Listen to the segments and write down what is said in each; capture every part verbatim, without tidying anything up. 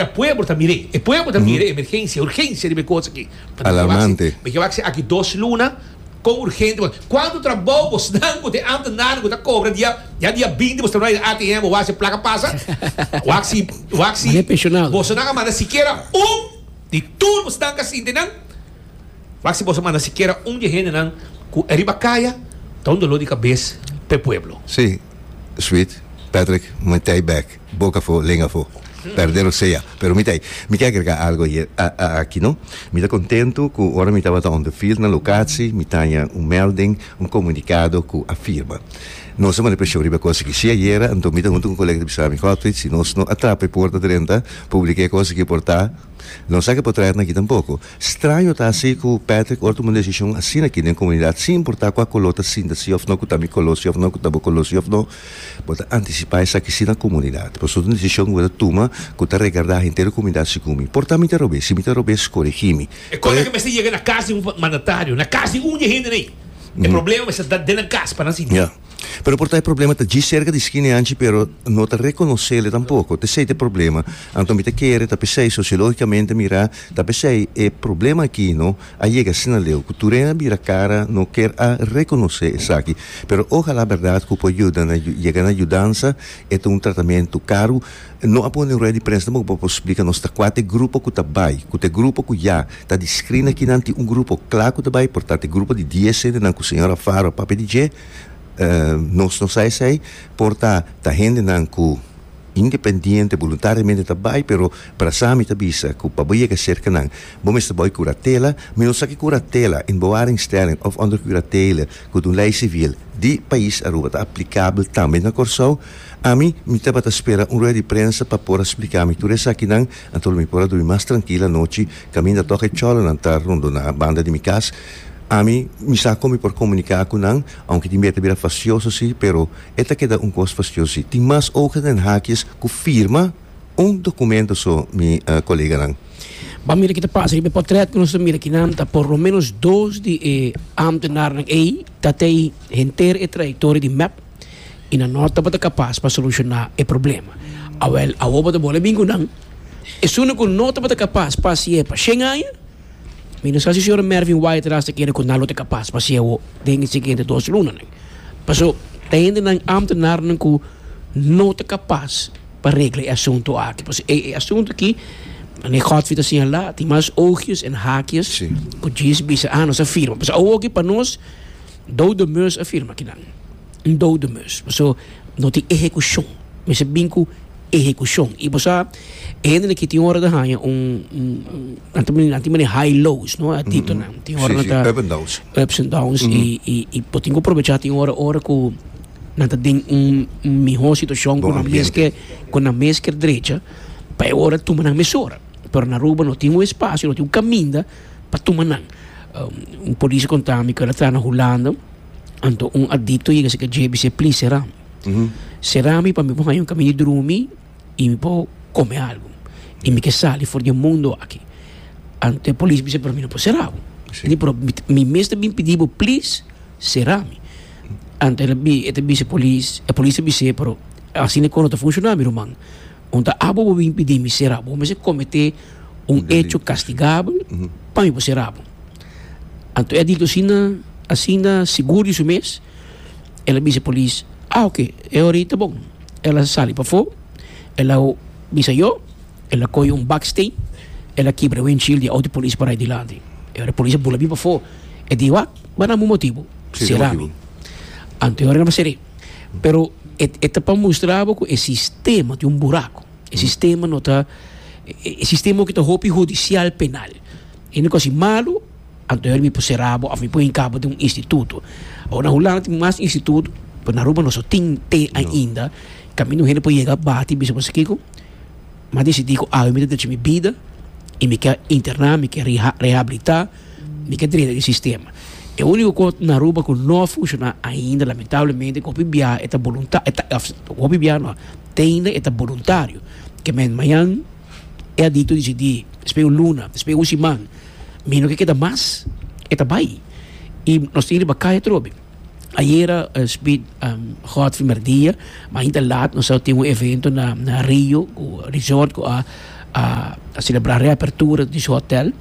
Pueblo ta mir'é, e pueblo ta mir'é, emergensia, urgensia riba e kos aki. Alarmante. Mi ke wak si aki dos luna kon urgente bo. Kuantu trabou bosnan ku ta e ambtenaarnan ku ta kobra dia ya dia binti bos ta bai na A T M bo wak si e plaka pasa. Wak si wak si Mane pensionado. Bosonan a manda sikiera un di tur bosnan ka sinti nan. Wak si boso manda sikiera un di e hendenan ku riba kaya ta un dolor di kabes pa e pueblo. Sí, Sweet, Patrick, mi ta ei bek. Boca afó, lenga afó. Perdero sea. Pero mi ta ei. Mi ke agrega algo hier aki, no. Mi ta contento cu ora mi tabata on the field na locatie, mi taña un melding, un comunicado cu a firma. Nos a manda presion riba e cos aki. Si ayera, anto mi ta hunto cu un colega ta bisa mi, Godfried, si nos no a trapa e porta drenta, publica e cos aki por ta, no sa ke por traer aki tampoco. Straño ta asi cu Patrick ora tuma un decision asina aki den comunidad, sin importa cua color ta sinta si of no, cu ta mi color si of no, cu ta bo color si of no, bo ta anticipa esaki si na comunidad. Pasobra ta un decision cu bo ta tuma cu ta regarda henter e comunidad segun mi. Por ta mi ta robes, si mi ta robes, coregi mi. E cosa cu mester yega na cas di un mandatario, na cas di un di e hende ei. E problema mester ta den nan cas pa nan sinti. Ya. Pero por ta e problema ta djis cerca di skina anchi pero no ta reconocele tampoco. T'esey ta e problema. Anto mi ta kere ta p'esey sociologicamente mira ta p'esey e problema aki no a yega asina leu cu tur hende a bira cara no kier a reconoce esaki. Pero ojalá berdad cu por yuda na yega na yudansa. E ta un tratamiento caro. No a pone un rueda di prensa tampoco pa por splica nos ta cua ta e grupo cu ta bay, cu ta e grupo cu ya ta di screen akinan tin un grupo cla cu ta bay, por ta ta e grupo di dies hendenan cu señora Faro a papia di dje. Nos no sa esey, por ta ta hendenan cu independiente, voluntariamente ta bay, pero Brasami ta bisa cu pa bo yega cerca nan, bo mester boy curatela. Mi no sa ki curatela, in bewaringstelling of onder curatele, cu ta un ley civil di pais Aruba ta aplicabel tambe na Corsou. Ami, mi tabata spera un rueda di prensa pa por a splica mi tur esakinan, anto lo mi por a drumi mas trankil anochi, caminda toch e cholonan ta rondona banda di mi cas. Ami, mi sa con mi por comunica cu nan, aunke tin bia ta bira fastioso si, pero e ta keda un cos fastioso si. Tin mas ogen den hakies cu firma un documento so, mi coleganan. Ban mira ki ta pasa riba e portret cu nos ta mira kinan ta por lo menos dos di e ambtenarnan ey ta tey henter e trayectoria di mep y nan no tabata capas pa soluciona e problema. Awel, awor bo ta bole bin cu nan. Esun cu no tabata capas pa haci'e pa shen aña, mi no sa si señor Mervin Wyatt ras ta kere cu nan lo ta capas pa haci'e awor den e siguiente dos lunanan. Paso ta hendenan, ambtenarnan cu no ta capas pa regla e asunto aki. Paso e asunto aki, meneer Godfrey ta señala, tin mas oogjes en haakjes Sí. cu djis bisa, ah, nos a firma. Paso awor aki pa nos, dode mus a firma akinan. Un dode mus. Paso no tin ehecucion. Mester bin cu ehecucion. Y bo sa, e hendenan aki tin ora ta haña un, un, un, nan ta nan tin manera high lows, no? Adictonan. Tin ora Sí, nan sí, ta up and downs. Ups and downs. Y, y, y bo tin cu aprovecha tin ora, ora cu nan ta den un, un miho situacion cu Bon nan mes ambiente. ke, cu nan mes ker drecha, pa e ora tuma nan mesora. Pero na Aruba no tin un espacio, no tin un caminda pa tuma nan. Um, un polis a conta mi cu el a traha na Hulanda, anto un adicto yega si ke dje bis'é, please, sera mi. Mm-hmm. Sera mi pa mi por haña un caminda di drumi y mi por come algo. Y mi ke sali for di e mundo aki. Anto e polis bis'é, pero mi no por sera bo. Sí. Di, pero mi, mi mes ta bin pidi bo, please, sera mi. Anto el a bi, e ta bisa e polis, e polis a bis'é, pero asina e cosa no ta funciona, mi ruman. Un ta abo bo bin pidi mi sera bo, mester comete un Un delito. hecho castigabel Mm-hmm. pa mi por sera bo. Anto e adicto asina, asina sigur di su mes, el a bisa e polis, ah, ok, e ora ta bon. El a sali pafó, el a bisa yo, el a coge un baksteen, el a kibra e windshield di auto polis para dilanti. E ora e polis a bula bin pafó. E di, wak, ba na un motibo, Sí, sera motibo. mi. Anto e ora no seré. Pero e, e ta pa mustra bo cu e sistema tin un buraco. E sistema no ta, e, e sistema cu ta hopi judicial penal. E no cosa malo, anto mi por sera bo of mi por hinca bo den un instituto. Awor na Hulanda tin mas instituto, pero na Aruba no so tin te No. ainda. Caminda un hende por yega bati bisa bo sa kico, m'a decidi cu awe mi ta drecha mi bida y mi ke interna, mi ke reha-, rehabilita, mi ke drenta den sistema. E unico cosa na Aruba cu no a funciona ainda, lamentablemente, cu hopi bia e ta volunta-, e ta, of, hopi bia no, te ainda e ta voluntario. Ke men mañan e adicto decidi, despues un luna, despues un siman, mi no ke keda mas, e ta bai. Y nos tin riba calle trobe. Ayer, eh, Speed, um, Godfrey Merdia, maar ainda laat, nos tin un evento na, na Rio, cu resort, cu a, a, a selebrá reapertura di su hotel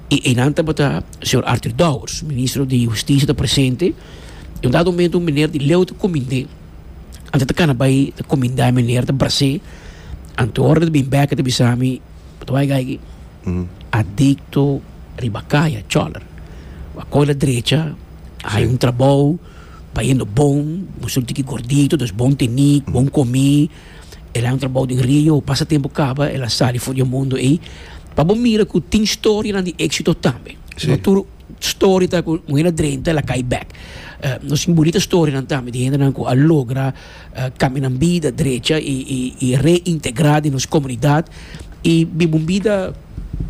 i einan tabata señor Arthur Dowers, ministro di Hustisia, ta presente. I un dado momento un meneer di leu ta kumind'é, anto ta kana bai ta kumindá e meneer, ta bras'é, anto ora ta bin bèk ta bisa mi, "Bo ta bai gai adikto riba kaya, choller. A koe la drecha, hay un trabou, bayendo bon, bo un tiki gordito, dus bon tení, bon komí. El a un trabou den Rio, pasa tempu kaba, el a sali for di e mundo ei. Pa bo mira ku tin storianan di éksito tambe. Si. No tur story ta ku un hende drenta, el a kai bèk. Uh, nos tin bunita storianan tambe di hendenan ku a logra uh, kambia nan bida, drecha i, i, i reintegrá den nos komunidat i biba un bida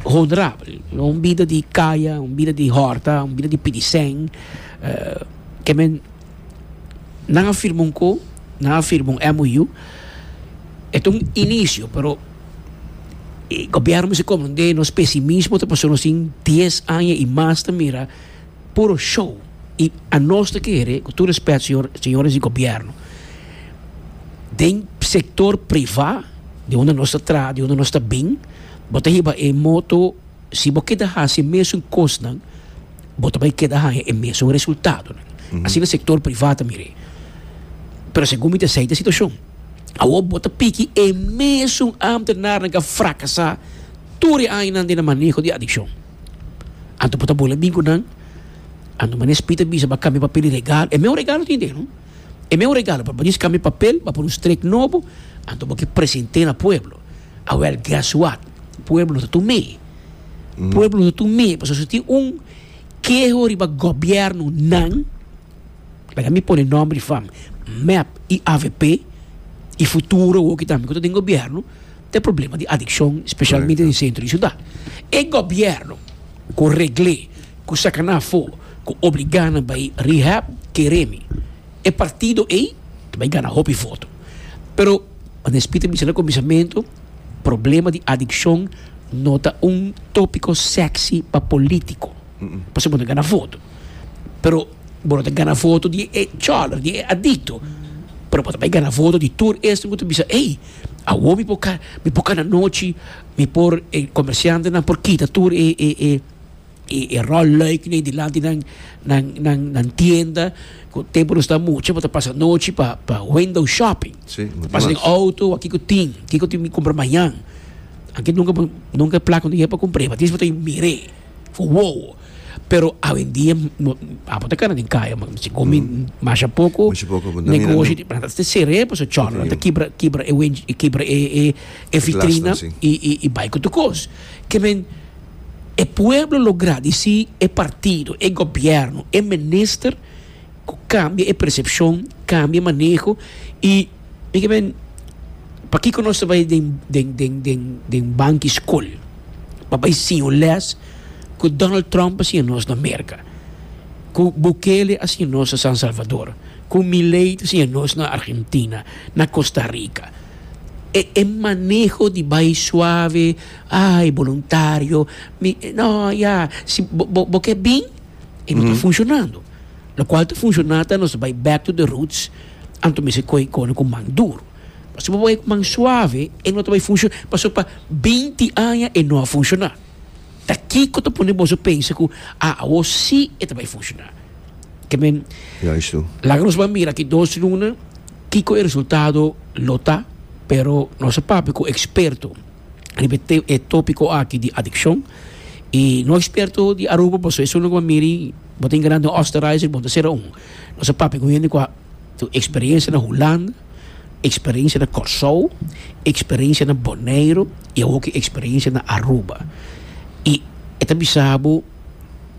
honorabel, no un bida di kaya, un bida di hòrta, un bida di pidi sèn. Uh, ke men nan a firma un ko, nan a firma un M O U, e ta un inisio, pero e gobièrnu mester komprondé nos pesimismo ta pasobra nos tin dies aña i mas ta mira puro show i anos ta kere, ku tur rèspèt, señor, señores di gobièrnu, den sektor privá, di unda nos ta traha, di unda nos ta bin, bo ta hiba e moto: si bo keda hasi mesun kosnan, bo ta bai keda haña e mesun resultadonan. Asina sektor privá ta mir'é. Pero segun mi ta esei ta e situashon. Awor bo ta piki e mesun ambtenaarnan ku a frakasá tur e añanan den maneho di adikshon. Anto bo ta bolbe bin ku nan, anto manera Speed a bisa, bo a kambia papel di regalo. E mesun regalo tin den, no? E mesun regalo, pa bo kambia papel, bo pone un strek nobo, anto bo ke present'é na pueblo. Awèl, guess what? Pueblo no ta tum'é. Pueblo no ta tum'é. Pasobra si tin un keho riba gobièrnunan, laga mi pone nòmber di fam, M E P i A V P, i futuro ku tambe ku ta den gobièrnu, tin problema di adikshon, spesialmente den sentro di siudat. E gobièrnu, ku regl'é, ku saka nan afó, ku obligá nan bai rehab, kere mi. E partido ei, bai gana hopi voto. Pero, manera Speed a bisa na kuminsamentu, problema di adikshon no ta un tópiko sexy pa polítiko. Pasobra bo gana voto. Pero, bo no ta gana voto di e choller, di e adikto. Pero bo ta bai gana voto di tur esnan ku ta bisa, "Ei, awor mi por ka, mi por kana nochi, mi por eh, komersiantenan por kita tur e e e e, e rolluiknan dilanti nan nan nan nan tienda, ku tempu nos ta mucha, bo ta pasa nochi pa pa window shopping." Si, Pasa den outo, kiko tin, kiko tin mi kumpra mañan. Aki nunka nunka plaka no pa kumpra, ma dis bo ta mir'é. Wow. Pero awendia abo ta kana den kaya, ma si komi masha poko, Masha poko, negoshi, ma ta ser'é, pasobra choller, ta kibra kibra e wen kibra e e e vitrina si. i i i bai ku tur kos. Ke men e pueblo lo gradisí e partido, e gobièrnu, e minister ku kambia e persepshon, kambia e maneho i i ke men pakiko nos ta bai den den den den den banki skol pa bai siña les ku Donald Trump a siña nos na Merka, ku Bukele a siña nos na San Salvador, ku Milei a siña nos na Argentina, na Costa Rica? E, e maneho di bai suave, ai, voluntario, mi, no, ya, si bo, bo, bo ke bin, e no ta funshonando. Lokual ta funshonando, nos bai back to the roots, anto mester koi ku ku man duru. Si bo bai ku man suave, e no ta bai funshoná. Pasobra pa binti aña e no a funshoná. Ta kiko ta pone boso pensa ku ah, awor si e ta bai funshoná? Ke men Juist. laga nos ban mira aki dos luna kiko e resultado lo ta, pero nos a papia ku eksperto riba e tópiko aki di adikshon i no eksperto di Aruba, pasobra esei no miri bo tin grande Oostenrijker, bo ta sera un. Nos a papia ku hende ku eksperensia na Hulanda, eksperensia na Kòrsou, eksperensia na Boneiru i awor eksperensia na Aruba. I e ta bisa bo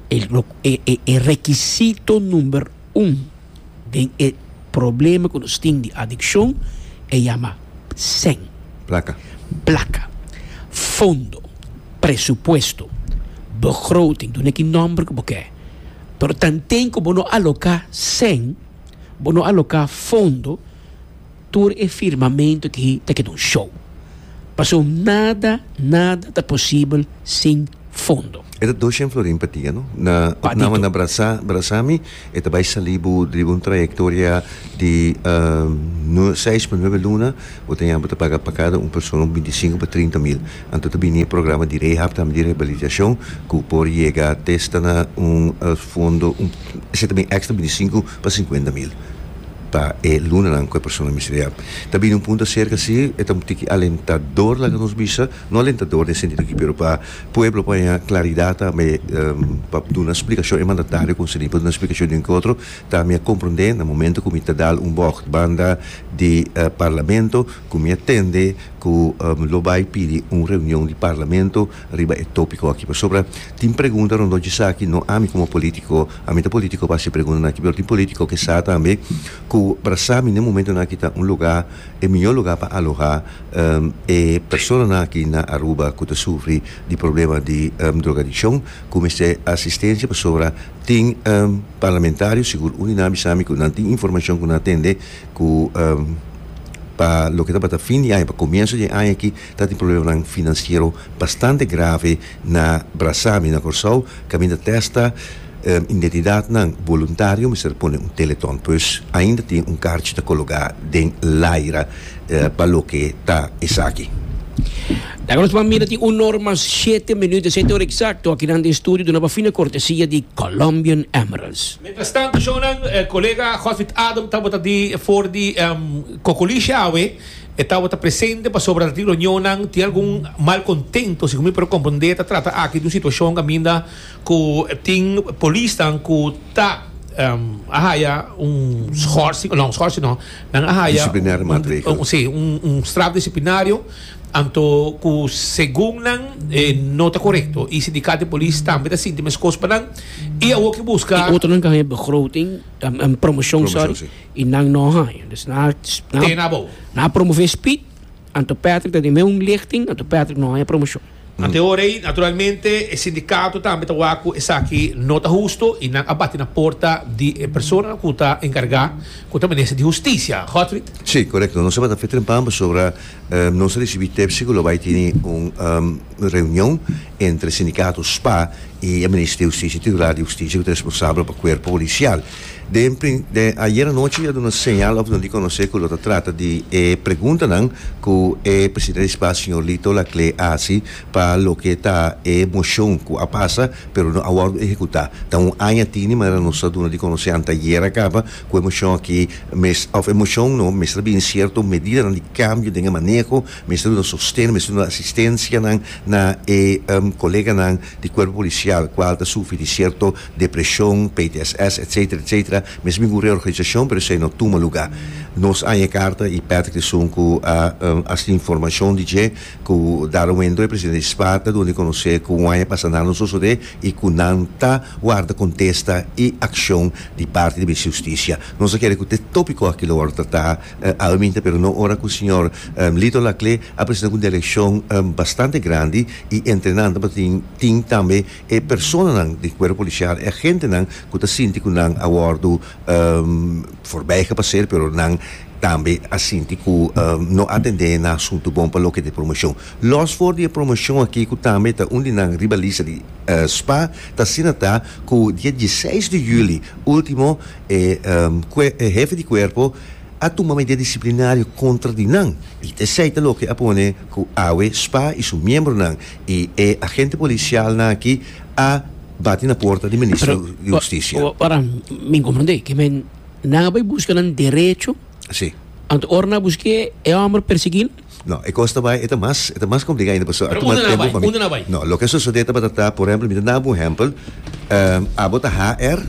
e, e, e, e rekisito number un di e problema ku nos tin di adikshon e yama sèn. Plaka. Plaka, fondo, presupuesto, begroting, dun'é ki nòmber ku bo ke. Pero tanten ku bo no aloká sèn, bo no aloká fondo, tur e firmamentu aki ta keda un show. Pasobra nada, nada ta posibel sin Fondo. E ta doshen florin pa dia, no? Na Pa opname dito. Na Brasa, Brasami, e ta bai sali bo riba un trayectoria di um, seis pa nuebe luna, bo tin pa paga pa cada un persona un binticinco pa trinta mil. Anto tambe e programa di rehab, tambe di rehabilitacion, cu por yega te na un uh, fondo, un, esey tambe extra binticinco pa cincuenta mil pa e lunanan cu e persona mester rehab. Tambe un punto acerca si, e un tiki alentador laga nos bisa, no alentador den sentido cu pero pa pueblo pa claridad tambe, um, pa duna un explicacion e mandatario consegui pa duna un explicacion di un otro, tambe comprende na momento cu mi ta dal un bocht banda di uh, parlamento, cu mi a tende cu um, lo bay pidi un reunion di parlamento riba e topico aki. Pasobra tin pregunta rond di esaki, no ami como politico, ami ta politico pa pregunta aki, pero tin politico cu sa tambe cu Brasami na momento aki ta un lugar, e miho lugar pa aloha um, e persona aki na Aruba cu ta sufri di problema di um, drogadiccion, cu mester asistencia, pasobra tin um, parlamentario, sigur un sabi cu nan tin informacion cu nan a tende cu um, pa loke ta pa fin di aña, pa comienso di aña aki, ta tin problema financiero bastante grave na Brasami, na Corsou, caminda te hasta um, identidadnan voluntario mester pone un telethon, pues ainda tin un carchi ta coloca den laira uh, pa loke ta esaki. Awor nos ta mira tin un or mas shete minuut, shete or exacto, aki na studio, di un fina cortesia di Colombian Emeralds. Mientras tanto, shonan, eh, colega Godfried Adam tabata di for di um, Cocolishi awe, e tabata presente pasobra e reunion, tin algun malcontento, segun mi por comprende, ta trata aki di un situacion caminda cu tin polisnan cu ta um, a haya un schorsing, no, un schorsing no, nan a haya Disciplinaire maatregel. Un, un, si, un, un straf disciplinario, anto cu segun nan eh, no ta corecto y sindicato di polis tambe ta sinti mescos pa nan y awor cu busca E outro nan kan begroting, een, een promotion, Promotion, sorry, si. y nan no haya. Dus na, Te na, na bo. Na promove Speed, anto Patrick dat die un lichting, anto Patrick no haya promocion. Anto ora, naturalmente, e sindicato tambe ta wak cu esaki no ta husto y nan a bati na porta di eh, persona cu ta encarga cu ta minister di Husticia. Godfried? Si, corecto. Nos tabata trempan pasobra um, nos a ricibi tip cu lo bay tin un um, reunion entre sindicato S P A y e minister di Husticia, titular di Husticia, cu ta responsabel pa e cuerpo policial. De, de ayera nochi a duna un señal of di conoce cu ta trata di eh, preguntanan cu e presidente di S P A, señor Lito Laclé, a haci pa loke ta e mocion cu a pasa, pero no a wordo ehecuta. Ta un aña tin, mas nos a duna di conoce ayera caba cu e mocion aki, mes, of e mocion no, mester bin cierto medida di cambio di maneho, mester duna sosten, mester duna asistencia na, na e um, coleganan di cuerpo policial, cual ta sufri di cierto depresion, P T S S, et cetera, et cetera. Mester bin reorganisacion, pero esey no a tuma lugar. Nos a haya carta y Patrick ta esun cu a um, a informacion di dje cu dado momento e presidente di S P A ta duna di conoce cu un aña pasa no a sucede y cu nan ta warda contesta y accion di parti di Husticia. Nos kier cu e topico aki lo trata uh, almente, pero no ora cu señor um, Lito Laclé a presenta un delegacion um, bastante grandi y entrenando pa tin tin tambe e personanan di cuerpo policial e agentenan cu ta sinti cu nan a wordo um, voorbij gepasseerd, pero nan tambe a sinti cu um, no a atende na asunto bon pa loke di promocion. Los for di promocion aki cu tambe ta un di nan riba lista di uh, S P A, ta asina ta cu dia diesseis di juli ultimo eh, um, que, eh, hefe di cuerpo a tuma medida disciplinario contra di nan. Y esey ta loke a pone cu awe S P A y su miembronan y e agente policial nan aki a bati na porta di minister di Husticia. Para mi comprende, cu men nan a bay busca un derecho, Si. anto ora nan busca e homber persigui. No, e cos ta bay, e mas, e mas complica ainda, pasobra. Pero unda nan a bay? Unda nan a bay? No, loke a sucede ta, por ehempel, mi ta duna un ehempel, um, abo ta H R,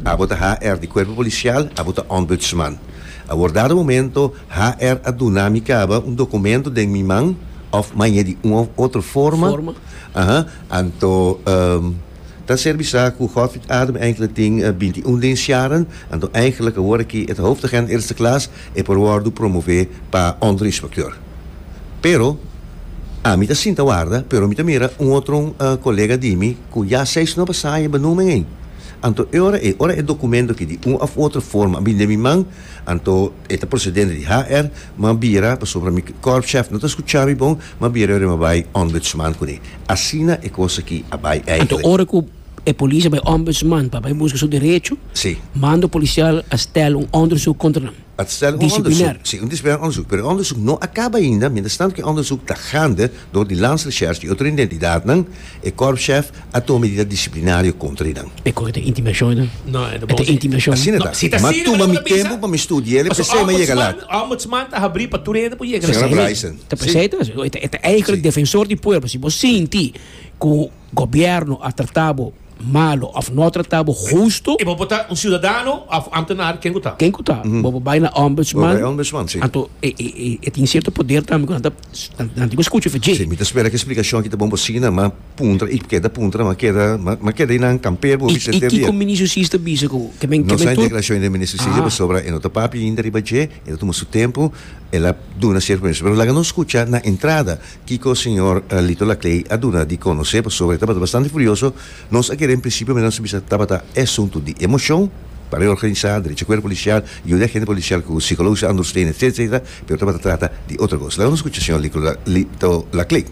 abo ta H R di cuerpo policial, abo ta ombudsman. A dado momento, H R a duna mi caba un documento den mi man, of mañana di un of otro forma. Forma. Aha, anto um, dat ser bisa cu Godfried Adam eigenlijk tin uh, bintiun dienstjaren. Anto eigenlijk word ik het hoofdagent eerste klas e por wordo promove pa onderinspecteur. Pero ami ta sinta warda, pero mi ta mira un otro uh, colega di mi, cu ya seis no pasa e benoeming. Anto e ora e ora e documento aki di un of otro forma a bin den mi man, anto e ta procedente di H R, m'a bira, pasobra mi korpschef no ta scucha mi bon, m'a bira ora m'a bay Ombudsman cune. Asina e cos aki a bay Anto eigenlijk. Ora cu e polis a bay Ombudsman pa bay busca su derecho, Si. Mando policial a stellen un onderzoek contra hem. Het stellen een Disciplinair. onderzoek. Si, un disciplinair onderzoek. Pero onderzoek no a caba ainda. Mientras tanto cu e onderzoek ta gaande door di Landsrecherche, di otro entidad, e korpschef a tuma medida disciplinario contra nan. E cos ta intimidacion, no? No, e E intimidacion. Asina No, ta. si ta Ma asina, tuma mas mi no bisa. tempo pa mi studia, p'esey m'a yega laat. Ombudsman ta habri pa tur hende por yega. Señora Bryson. Ta presente, e eigenlijk Si. Defensor di pueblo. Si bo sinti cu gobierno a trata bo malo of no a trata bo husto, Y bo ta un ciudadano of ambtenaar, ken ta? Ken cu ta? Bo bay na Ombudsman. Bo bay Ombudsman, si. Anto, e, e, e, e tin cierto poder tambe cu nan nan tin cu scucha. Si, mi ta spera cu e explicacion aki ta bon asina, m'a puntra, y keda puntra, m'a keda, m'a keda na kampeer, bo Y, y kico ministro Cis a bisa cu cu men No cu sa men tur declaracion di ministro Cis Ah. sobre e no ta papia ainda riba dje, el a tuma su tempo, el a duna cierto permiso. Pero laga nos scucha na entrada, kico señor uh, Lito Laclé a duna di conoce sobre, tabata bastante furioso. Nos a kere en principio, nos a bisa tabata asunto di emocion, pa reorganisa, derecho cuerpo policial, y e agente policial cu psicologische ondersteuning, et cetera, pero tabata trata di otro cos. Laga nos scucha señor Lito, Lito Laclé.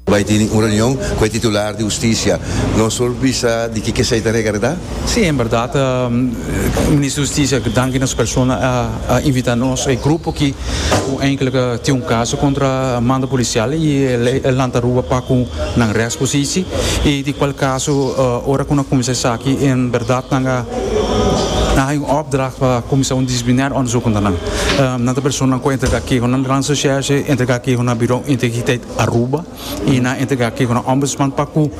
Bay tin un reunion cu e titular di husticia. Nos por bisa di kico esey ta regarda? Si, en berdad, um, minister di Husticia, danki na su persona a, a invita nos, e grupo cu eigenlijk tin un caso contra mando policial y el lanta Aruba pa cu nan rechtspositie y di cual caso uh, ora cu nan cuminsa aki, en berdad nan a na een opdracht pa cuminsa un disciplinair onderzoek contra nan. Um, nan persona cu entrega keho na Landsrecherche, entrega keho na Bureau Integriteit Aruba y nan a entrega keho na Ombudsman pa cu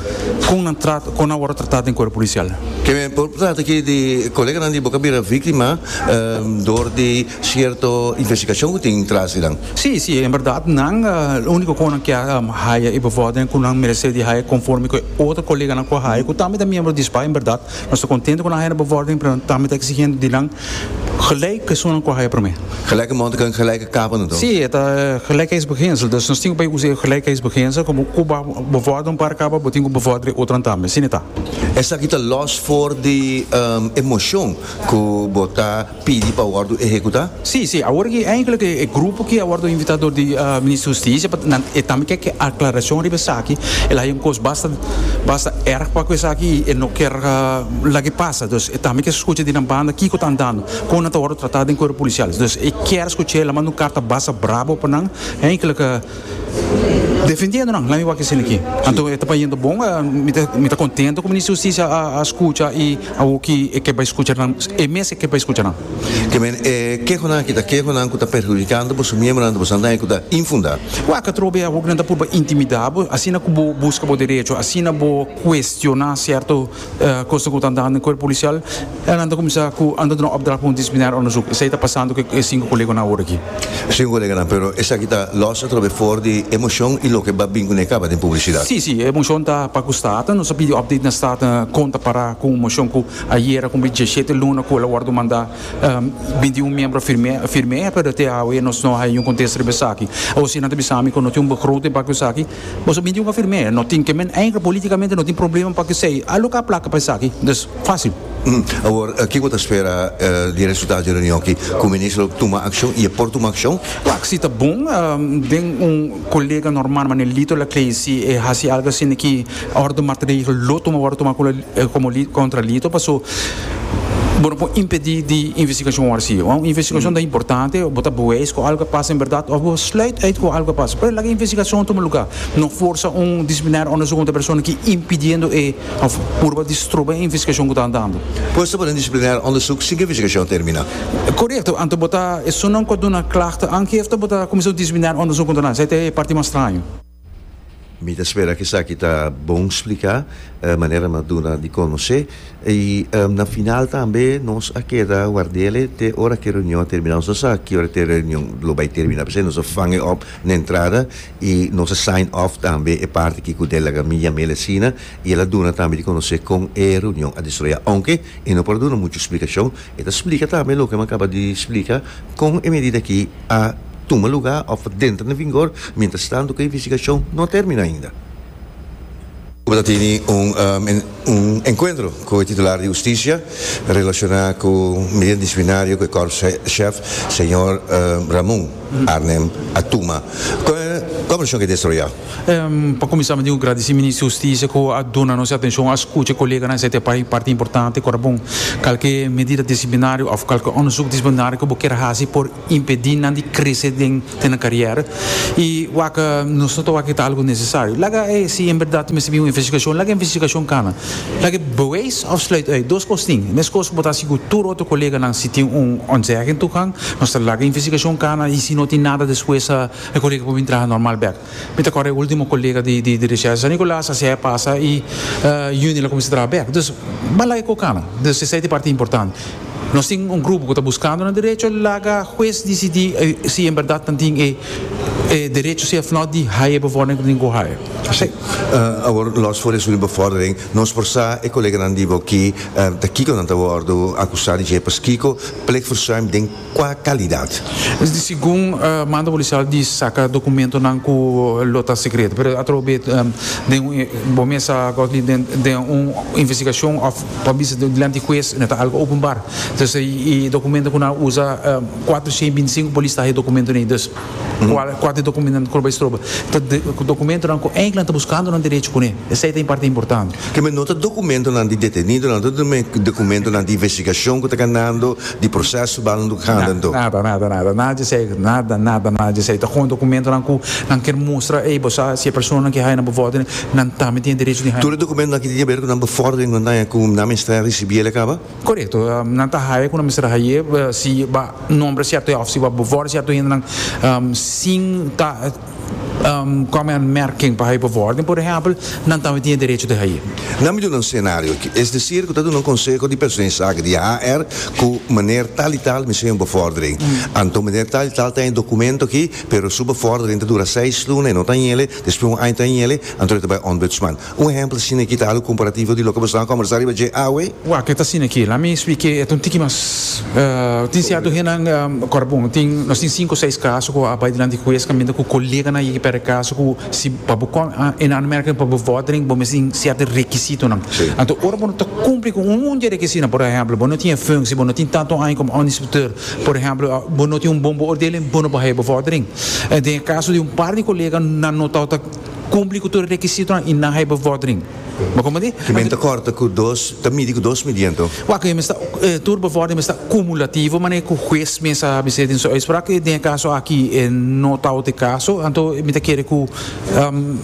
con nan trata con nan wordo trata den cuerpo policial. Cu por trata aki di colega di bo a bira victima um, door di cierto investigacion cu tin tras dan. Si, si, en berdad, nan uh, unico cu cu um, haya e bevordering cu nan merece di haya conforme cu otro colega nan cu haya, cu tambe ta miembro di SPA, en berdad, nos ta contento cu nan haya bevordering, pero tambe ta exigiendo di nan gelijk zo'n cu haya prome. Gelijke mond kan gelijke kapen dan. Si, het uh, gelijkheidsbeginsel. Dus nos tin cu usa gelijkheidsbeginsel, como Cuba bevorderen para caba, bo tin cu bevorderen otro tambe. Si, ta. Esaki ta los for di um, emocion cu bo ta pidi pa wordo ehecuta? Si, si. Awor cu eigenlijk e grupo cu a wordo invita door di uh, minister di Husticia, y tambe kier aclaracion riba esaki, el a un cos basta basta erg pa esaki y no kier uh, laga pasa. Dus e tambe kier scucha di nan banda kico ta andando, con ta wordo trata den cuerpo policial. Dus e kier scucha, el a manda un carta basta bravo pa nan, eigenlijk uh, defendiendo nan, laat me wak aki. Anto, ta bayendo bon, mi ta mi ta contento cu minister di Husticia a, a scucha y a cu e kier bay scucha nan, e mes kier bay scucha nan. Kiermen eh keho nan aki ta keho nan cu ta perhudicando bo miembro nan bo nan cu ta infunda. Wak atrobe a nan ta purba intimida bo, asina cu bo busca bo derecho, asina bo cuestiona cierto uh, cos cu ta andando den cuerpo policial, nan ta cuminsa cu anda un opdracht pa un disciplinair onderzoek. Esey ta pasando cu e cinco colega nan awor aki. Cinco colega nan, pero esaki ta los atrobe for di emocion y loke bo a bin cu caba di publicidad. Si, si, emocion ta pa cu Staten, nos a pidi update na Staten con ta para cu mocion cu ayera cu diesshete luna cu el a wordo manda um, bintiun miembro firma firma, pero te awe nos no hay un contexto riba esaki. Of si nan ta bisa mi cu no tin un begroting pa esaki, bo bintiun a firma, no tin kiermen eigenlijk políticamente no tin problema pa cu esey. Aloca placa pa esaki, dus facil. Mm. Awor, kico bo ta spera uh, di resultado di e reunion aki cu minister tuma accion y por tuma accion? Wak, si ta bon, um, den un colega normal, maar Lito Laclé, si eh, hasi algo asina cu orde maatregel lo tuma wordo tuma como contra Lito, paso bo no por impedi di investigacion asina. Un investigacion mm. ta importante, bo ta bewijs cu algo a pasa en berdad, of bo sluit uit cu algo a pasa. Pero laga investigacion tuma luga. No forsa un disciplinair onderzoek contra persona cu impidiendo e of purba di stroba e investigacion cu ta andando. Pues un disciplinair onderzoek sin investigacion termina. Correcto, anto bo ta esunnan cu duna klacht aangifte, bo ta cuminsa disciplinair onderzoek contra nan. Esey ta parti mas straño. Mi ta spera cu esaki ta bon splica, uh, manera m'a duna di conoce y um, na final tambe nos a keda ward'e te ora cu e reunion termina. Nos sa ki ora e reunion lo bay termina, pasobra nos a vang op na entrada y nos a sign off tambe e parti cu el a laga mi yam'e asina y el a duna tambe di conoce con e reunion a desaroya, aunke e no por duna mucho explicacion, e ta splica tambe loke mi a caba di splica con e medida cu a tuma luga of ta den vigor, mientras tanto cu e investigacion no a termina ainda. Tin un, um, un enkuentro ku e titular di hustisia relashoná ku medida disiplinario ku e korpschef, señor um, Ramon Arnhem a tuma. Kua vershon ku a desaroyá? Um, pa kuminsá, mi ta gradisí Minister di Hustisia ku a duna nos atenshon, a skucha koleganan, esei ta parti importante, ku bon, kualke medida disiplinario òf kualke onderzoek disiplinario ku bo ke hasi por impedí nan di krese den den karera i wak nos no wak ta algu nesesario. Laga eh, si en berdat mester un investigashon, laga investigashon kana. Laga bewijs of sluit uit. Dos kos tin. Meskos ku bo ta sigur tur otro koleganan, si tin un ontzegging toegang, nos laga investigashon kana i si no tin nada despues, e kolega por traha normal bèk. Mi ta kòrda e último kolega di di di recherche San Nicolas a pasa i uh, juni el a kuminsá traha bèk. Dus ban laga e kana. Dus esei ta parti importante. Nos tin un grupo ku ta buskando un derecho, laga hues disidí eh, si en berdat tin e eh, derecho si òf no di haya bevordering ku tin ku haya. Si. Uh, awor, los for di bevordering, nos por sa e koleganan di bo aki, uh, ta kiko nan ta wòrdu akusá di pas kiko, plichtverzuim den kua kalidat? Segun uh, mando polisial di saka dokumentonan ku lo ta sekreto, pero atrobe um, den un bon mesa den den un investigashon òf pa bisa dilanti hues, ta algu openbaar. Dus e dokumento ku nan usa um, kuatershen bintisinku polis ta e dokumento nei, dus mm. kuater dokumento ku bai stroba. Dokumentonan ku eigenlijk ta buskando un derecho kuné. Esei ta parti importante. Ke men no ta dokumentonan di detenido, no ta dokumentonan di investigashon ku ta kanando, di proseso bandando gaande. Nada, nada, nada, nada di esei, nada, nada, nada di esei. Ta gewoon dokumentonan ku nan ke mustra, ei, bo si e persona ku haya bevordering, nan tambe tin derecho di haya. Tur dokumentonan ku tin di aber ku nan bevordering, nan ku nan mester risibí el kaba? Korekto, um, nan ta haya ku nan mester haya, si ba nombra sierto òf si ba bevorderen sierto nan um, sin ta um, kom aanmerking pa bevordering, por ehèmpel, nan tambe tin derecho di haya. Laga mi duna un senario aki. Es decir, ku ta un konseho di personeelszaken di H R ku meneer tal i tal mester un bevordering. Mm. Anto meneer tal i tal tin un dokumento aki, pero su bevordering ta dura seis luna i no ta ele, despues un aña ta ele, anto ta bai ombudsman. Un ehèmpel asina aki ta algu komparativo di loke bo a kombersá riba dje awe? Wak, ta asina aki. Laga mi splika, e un tiki mas uh, tin sierto hendenan um, korbon, tin nos tin sinku seis kaso ku a bai dilanti hues kaminda ku koleganan a pèrdè kaso ku si pa bo in aanmerking pa bevordering, bo mester tin sierto rekisitonan. Anto ora bo ta kumpli ku un di rekisito, por ehèmpel, bo no tin functie, bo no tin tantu aña komo inspecteur, por ehèmpel, bo no tin un bon beoordeling, bo no por bevordering. Den kaso di un par di kolega nan no ta kumpli ku tur rekisito i nan haya bevordering. Maar kon di? Ke men ta kòrta ku dos, ta midi ku dos midí anto. Wak, ta tur bevordering ta kumulativo, maar ku hues mes a bisa den su uitspraak, den kaso aki no ta e kaso, anto mi ta kere ku um,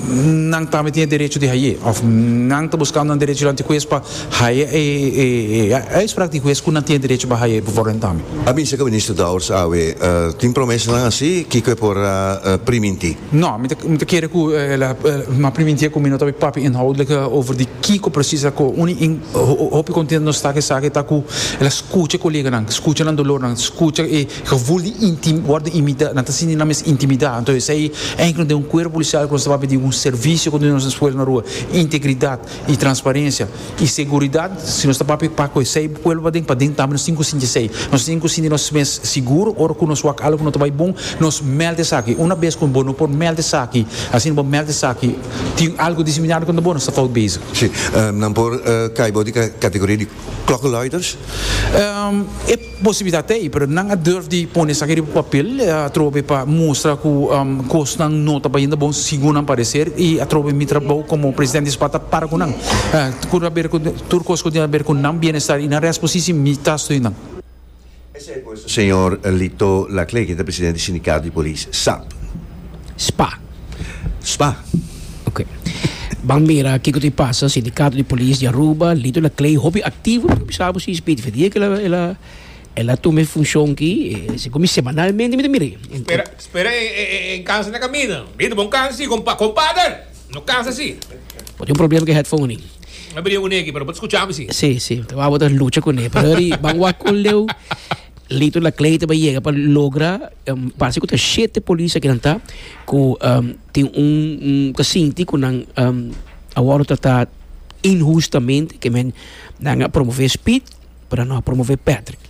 nan tambe tin derecho di haya, òf nan ta buskando un derecho dilanti hues pa haya e e e uitspraak di hues ku nan tin derecho pa haya bevordering tambe. A bisa ku minister Dowers awe, uh, tin promesanan asina, ku por uh, primintí? No, mi ta kere ku m'a primintí ku mi no ta papia inhoudelijk over di kiko precies ku uni in hopi kontentu nos ta ku ta ku el a skucha koleganan, skucha nan dolornan, skucha e gevoel di intim worden imita nan ta sinti nan mes intimidá. Anto esei eigenlijk den un kuerpo polisial ku nos ta di un servisio ku nos pueblo na rua, integridat i transparensia i seguridat. Si nos ta papia pa ku esei pueblo paden paden tambe nos tin ku sinti esei, nos tin ku sinti nos mes sigur. Ora ku nos wak algu no ta bai bon, nos meld esaki. Un bes ku bo no por meld esaki, asina bo meld esaki, tin algu disiplinario ku bo no ta fout bezig. Si, um, dan por uh, kai di kategoria di klokkenluiders? Um, e posibilidat ei, pero nan a durf di pone esaki riba papel, atrobe pa mustra ku um, kosnan no ta bayendo bon segun nan pareser i atrobe mi trabou komo presidente di SPA ta para ku nan. Uh, ku aber ku tur kos ku tin aber ku nan bienestar i nan rechtspositie, mi ta steun nan. Señor Lito Laclé, ku ta presidente di sindikato di polis, S A P. SPA. SPA. Ok. Ban mira kiko ta pasa, Sindikato di Polis di Aruba, Lito Laclé, hopi aktivo, sabe si speed verdie ku el a el a el a tuma funshon aki, eh, komo semanalmente mi mira. Spera, spera en, en, kansa na kaminda. Lito, bon kansa, kompa, kompadre. No kansa asina. Por tin un problema ku headphone ni. No bria ku neki, pero por skucha sí. Si, si, bai bota lucha kuné. Pero ri ban wak kon leu Lito Laclé ta yega pa logra um, parse ku ta shete polis ku nan ta ku um, tin un un ku sinti ku nan um, a wòrdu tratá inhustamente, ke men nan a promové Speed pero no a promové Patrick.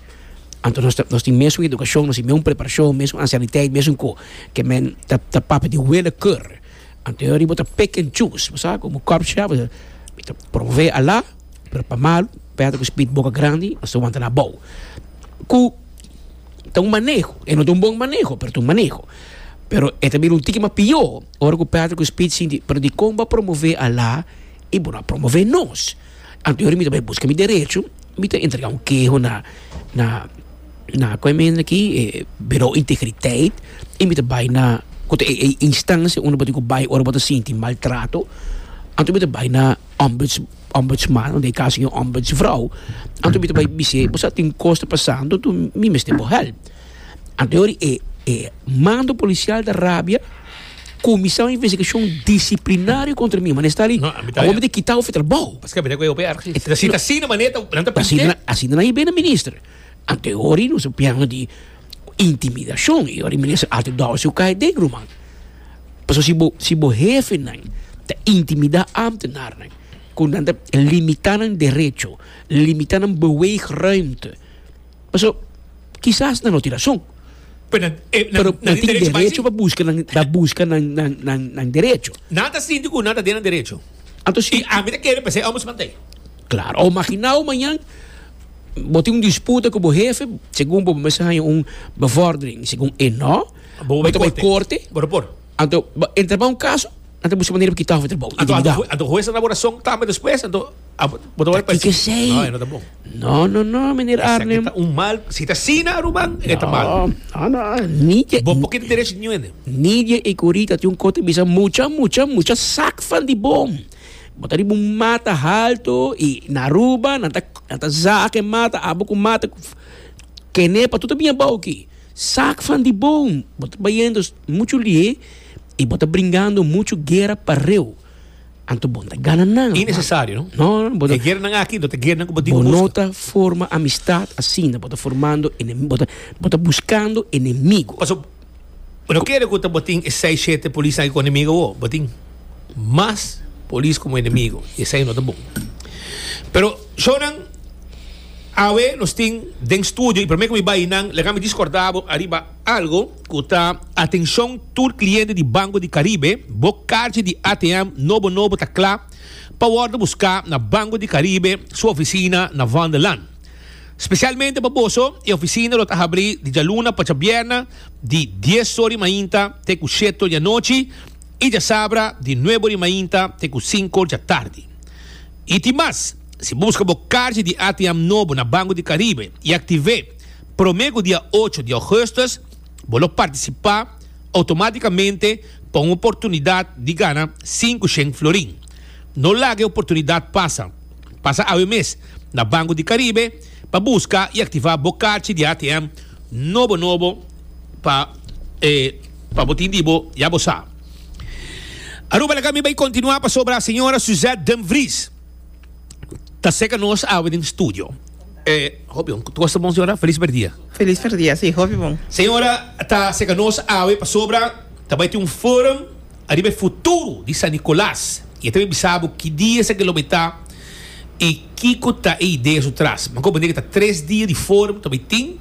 Anto nos nos tin mesun edukashon, nos tin mesun preparashon, mesun ansiëniteit, mesun ko ke men ta ta papia di willekeur. Anto bo ta pick and choose, sabe? Komo korpschef, mi ta promové Ala, pero pa malu, Patrick Speed boka grandi, nos ta wanta na abou. Ku ta un maneho, e no ta un bon maneho, pero ta un maneho. Pero e tambe un tiki mas pió, ora ku Patrick Speed sinti, pero di kon bo a promové Ala i bo no a promové nos. Anto mi tambe buska mi derecho, mi ta entregá un keho na na na kon aki, eh, Bureau Integriteit, i mi ta bai na ku e, e instansia unda bo tin ku bai ora bo ta sinti maltrato. Anto mi ta bai na ombuds, ombudsman, den kaso un ombudsvrouw. Anto mi ta bai bis'é, bo tin kos ta pasando, anto mi mester bo help. Anto e e mando polisial ta rabia, kuminsá un investigashon disiplinario kontra mi, mas ta ali, No, mi ta- awor mi ta kita òf trabou. Paske mi ta ku erg. Si ta asina manera, nan ta Asina, asina nan a bini minister. Anto ora nos piano di intimidashon i ora minister altijd dou su kai den ruman. Paso si bo si bo hefe nan ta intimidá ambtenaar nan, ku nan ta limitá nan derecho, limitá nan beweegruimte. Paso kisas nan no tin rason. Pero, eh, Pero nan nan tin derecho derecho pa buska nan pa buska nan nan nan nan derecho. Nan ta sinti ku nan ta den derecho. Anto si I ami ta kere p'esei ombudsman t'ei. Klaro, o imaginá mañan bo tin un disputa ku bo hefe, segun bo mester un bevordering, segun e no, Bo bo bai korte, Boro por. Anto entra pa un kaso, anto buska manera pa kita òf trabou. Anto Intimidá. anto anto hues na laboração tambe despues, anto bo ta Ki sei? No, no ta bon. No, no, no, meneer Arnhem. Ta un mal, si ta asina, ruman, ta mal. No, no, niet Bo por kita derecho di ningun. Nidia e corita tin un kote bisa mucha, mucha, mucha sak van die boom. Bo ta riba un mata haltu i na Aruba, nan ta, nan ta zaak mata, abo ku mata, kenepa, tur ta bin abou aki. Zaag van die boom. Bo ta bayendo muchu lihé i bo ta bringando muchu guera pareu. Anto bo n' ta gana nada. Innesesario, no? No, no, bo ta E guera nan aki, no ta guera nan ku bo tin Bo busca. no ta forma amistat asina, bo ta formando enemigu, bo ta, bo ta buskando enemigu. Paso, no ke ku bo tin seis, shete polis ei ku enemigu, o, bo tin mas polis komo enemigu. Esei no ta bon. Pero, shonan, awe nos tin den studio, i promé ku mi bai nan, laga mi rekordá bo ariba algu, ku ta atenshon tur kliente di Banco di Caribe, bo karchi di A T M nobo nobo ta kla, pa wòrdu buská na Banco di Caribe, su ofisina na Vondellaan. Spesialmente pa boso, e ofisina ta habrí di djaluna pa djabièrnè di dies or di mainta te ku shete di anochi i djasabra di nuebe or di mainta te ku sinku di atardi. I tin mas, si buska bo karchi di A T M nobo na Banco di Caribe i aktiv'é promé dia ocho di ougùstùs, bo lo partisipá outomátikamente pa un oportunidat di gana sinku shen florin. No laga e oportunidat pasa. Pasa awe mes na Banco di Caribe pa buska i aktivá bo karchi di A T M nobo nobo pa eh, pa bo tin di bo ya bo sa. Aruba, laga mi bai kontinuá pasobra señora Suzette Dumfries ta serka nos awe den studio. Eh, hopi, tur ta bon, señora? Felis dia. Felis dia, si, hopi bon. Señora, ta serka nos awe pasobra tambe tin un forum ariba futuro di San Nicolas. I tambe sa ki dia esaki lo ta i kiko ta e idea su tras. Ma komo ta tres dia di forum tambe tin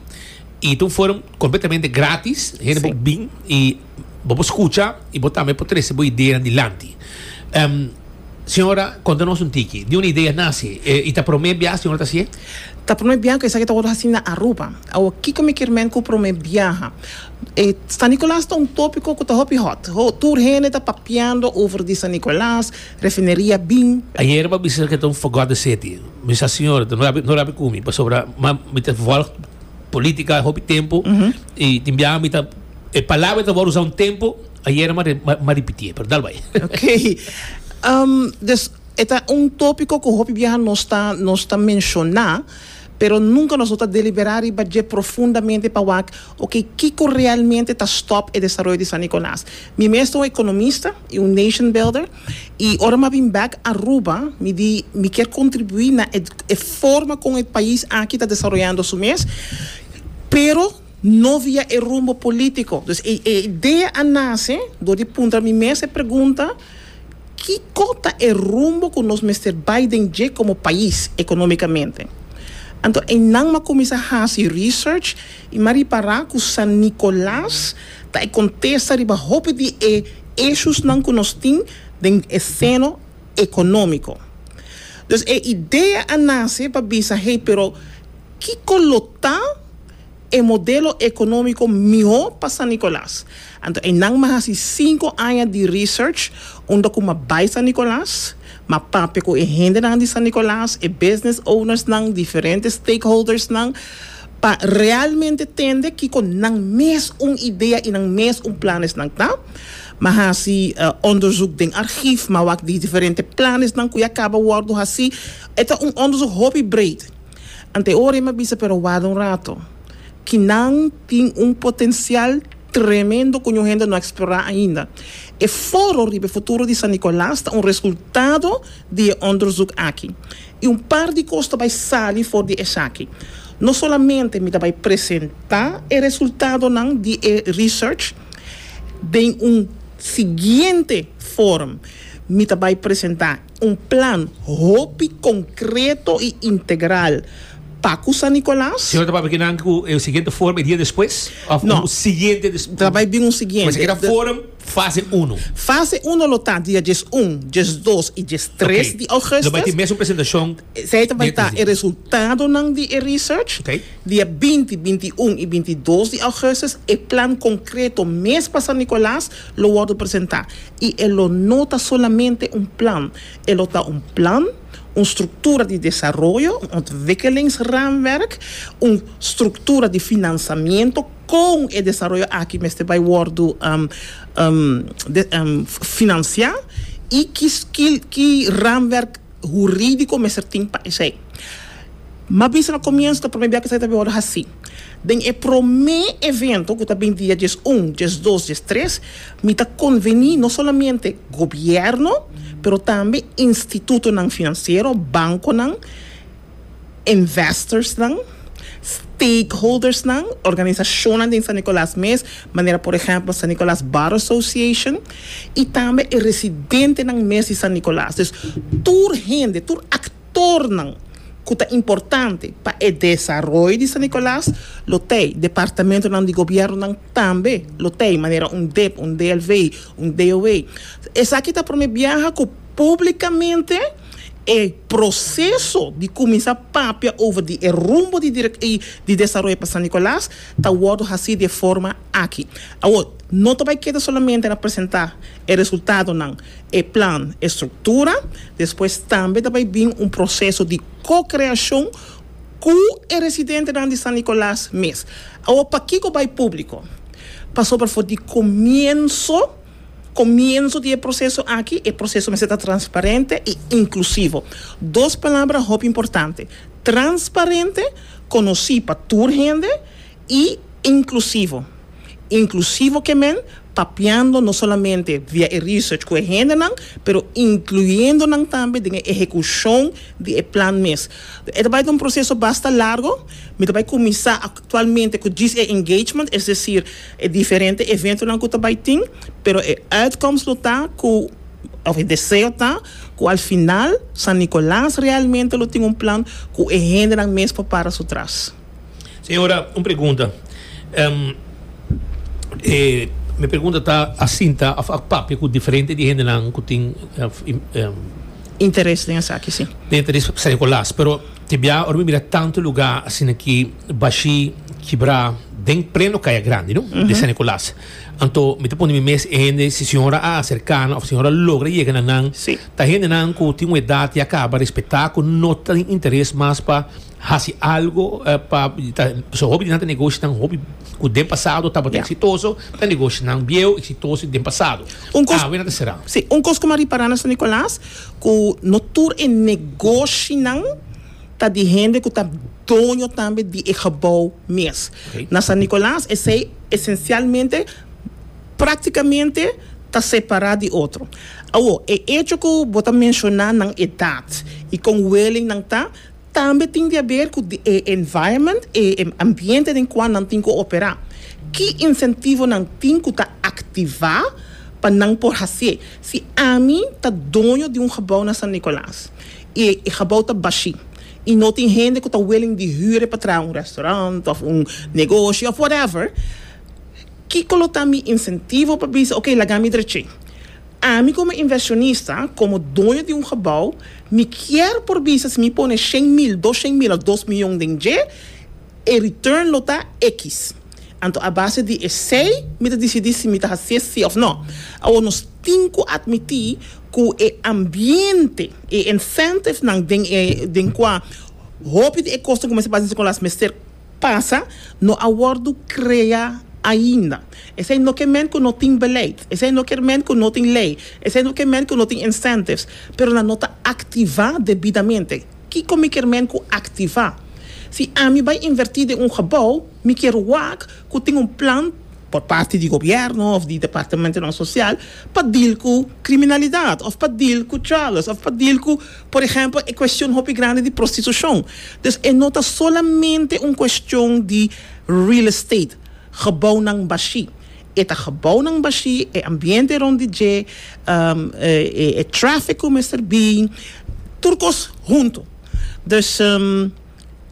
i un forum kompletamente gratis. Hende Si. bin i bo por skucha i bo tambe por trese bo idea dilanti. Um, señora, konta nos un tiki. Di unda e idea a nase. Eh, i ta promé biaha, señora, ta asina? Ta promé biaha ku esaki ta asina na Aruba. Awo kiko mi ke men ku promé biaha. Eh, San Nicolas ta un tópiko ku ta hopi hot. Ho, tur hende ta papiando over di San Nicolas, refineria bin. Ayera m'a bisa ku ta un forgotten city. Mi sa señora, no rabi no rabi ku mi, pasobra ma mi ta volg polítika hopi tempu i tin biaha mi ta e palabra ta usa un tempu, ayera m'a m'a ripití, pero dal bai. Ok. Um, dus e ta un tópiko ku hopi biaha nos ta nos ta menshoná, pero nunka nos ta deliberá i bai profundamente pa wak, ok, kiko realmente ta stop e desaroyo di San Nicolas. Mi mes ta un ekonomista i un nation builder i ora m'a bin back Aruba, mi di mi ke kontribuí na e, e forma kon e pais aki ta desaroyando su mes, pero no via e rumbo polítiko. Dus e, e idea a nase dor di puntra mi mes e pregunta: kiko ta e rumbo ku nos mester bai den komo pais ekonómikamente? Anto, einan m'a kuminsá hasi research i m'a ripará ku San Nicolas ta e kontesta riba hopi di e issues nan ku nos tin den esena ekonómiko. Dus e idea a nase pa bisa, hey, pero kiko lo ta e modelo ekonómiko mihó pa San Nicolas? Anto, einan m'a hasi sinku aña di research, unda ku m'a bai San Nicolas, m'a papia ku e hendenan di San Nicolas, e business owners nan, diferente stakeholders nan, pa realmente tende kiko nan mes un idea i nan mes un plannen nan ta. M'a hasi uh, onderzoek den archief, m'a wak di diferente plannen nan ku ya kaba a wòrdu hasí. E ta un onderzoek hopi breed. Anto ora m'a bisa, pero warda un rato. Akinan tin un potensial tremendo ku hende no a eksplorá ainda. E foro riba futuro di San Nicolas ta un resultado di onderzoek aki. I un par di kos ta bai sali for di esaki. No solamente mi ta bai presentá e resultadonan di e research, den un siguiente forum mi ta bai presentá un plan hopi konkreto i integral pa San Nicolas. Señora ta papiando ku e siguiente forum dia despues? Òf No. e siguiente despues? Ta bai bin un siguiente. Mas aki forum fase un. Fase un lo ta dia un, dos i tres Ok. di ougùstùs. Lo bai tin mesun presentashon. Esei bai ta Dia e resultadonan di e research. Ok. Dia binti, binti un i bintidos di ougùstùs, e plan konkreto mes pa San Nicolas lo wòrdu presentá. I e no ta solamente un plan, e ta un plan, un struktura di desaroyo, un ontwikkelingsraamwerk, un struktura di finansiamentu ku e desaroyo aki mester bai wòrdu um, um, de, um, finansiá i ki, ki, ki raamwerk hurídiko mester tin pa esei. M'a bisa na komienso ta promé ku esei ta bai asina. Den e promé evento, ku tambe dia un, dos, tres, mi ta konvení no solamente gobièrnu, pero tambe institutonan finansiero, bankonan, investors nan, stakeholders nan, organisashonnan di San Nicolas mes, manera por ehèmpel San Nicolas Bar Association, i tambe e residentenan mes di San Nicolas. Dus tur hende, tur aktornan ku ta importante pa e desaroyo di San Nicolas, lo tin, departamentonan di gobièrnu tambe, lo tin, manera un D E P, un D L V, un D O E. Esaki ta promé biaha ku públikamente e proseso di kuminsá papia over di e rumbo di, di desaroyo pa San Nicolas ta wòrdu hasí di forma aki. Awor, no ta bai keda solamente na presentá e resultadonan, e plan, e struktura, despues tambe ta bai bin un proseso di ko-kreashon ku e residentenan di San Nicolas mes. Awor, pakiko bai públiko? Pasobra for di komienso komienso di proseso aki, e proseso mester ta transparente i inklusivo. Dos palabra hopi importante. Transparente, konosí pa tur hende, i inklusivo. Inklusivo ke men, papiando no solamente via e research ku e hendenan, pero inkluyendo nan tambe den ehekushon di e plan mes. E bai un proseso basta largu, mi bai kuminsá aktualmente ku e engagement, es desir, e diferente eventonan ku bai tin, pero e outcomes lo ta ku òf e deseo ta ku al final San Nicolas realmente lo tin un plan ku e hendenan mes pa para su tras. Señora, un pregunta. Um, eh, mi pregunta ta asina, ta a papia ku diferente di hendenan ku tin um, interes den esaki, sí. Interes pa San Nicolas, pero te bia ora mira tantu lugá asina aki bashí, kibrá den pleno Kaya Grandi, no? Di San Nicolas. Anto, mi ta pone mi mes hende, si señora a aserká, òf señora logra yega na nan, Sí. ta hendenan ku tin un edat ya kaba, respetá, ku no tin interes mas pa hasi algu eh, pa ta, so hopi nan negoshinan hopi ku den pasado tabata Ja. eksitoso, ta negoshinan bieu eksitoso den pasado. Un kos- Ah, wena será. Sí, un kos ku m'a ripará na San Nicolas, ku no tur e negoshinan ta di hende ku ta doño tambe di e gebouw mes. Ok. Na San Nicolas, esei esensialmente práktikamente ta separá di otro. Awor, e hecho ku bo ta menshoná nan edat i kon willing nan ta, tambe tin di haber ku e environment e ambiente den kua nan tin ku operá. Ki insentivo nan tin ku ta aktivá pa nan por hasi? Si ami ta doño di un gebouw na San Nicolas i e gebouw ta bashí i no tin hende ku ta willing di huur pa traha un restaurant òf un negoshi òf whatever, kiko lo ta mi insentivo pa bisa, ok, laga mi drech'é? Ami komo invershonista, komo doño di un gebouw, mi ke por bisa si mi pone shen mil, doshent mil òf dos mion den dje, e return lo ta X. Anto, a base di esei, mi ta disidí si mi ta hasi sí òf no. Awor nos tin ku atmití ku e ambiente e incentive nan den e den kua hopi di e kos ku mester pasa ku las mester pasa no a wòrdu kreá ainda. Esei no ke men ku no tin beleid. Esei no ke men ku no tin lei. Esei no ke men ku no tin incentives. Pero nan no ta aktivá debidamente. Kiko mi ke men ku aktivá? Si ami bai invertí den un gebouw, mi ke wak ku tin un plan por parte di gobièrnu òf di departamento sosial pa deal ku kriminalidat òf pa deal ku drugs òf pa deal ku, por ehèmpel, e kuestion hopi grandi di prostitushon. Dus e no ta solamente un kuestion di real estate, gebouwnan bashí. E ta gebouwnan bashí, e ambiente rònt di dje, um, e, e, e traffic mester bin, tur kos huntu. Dus um,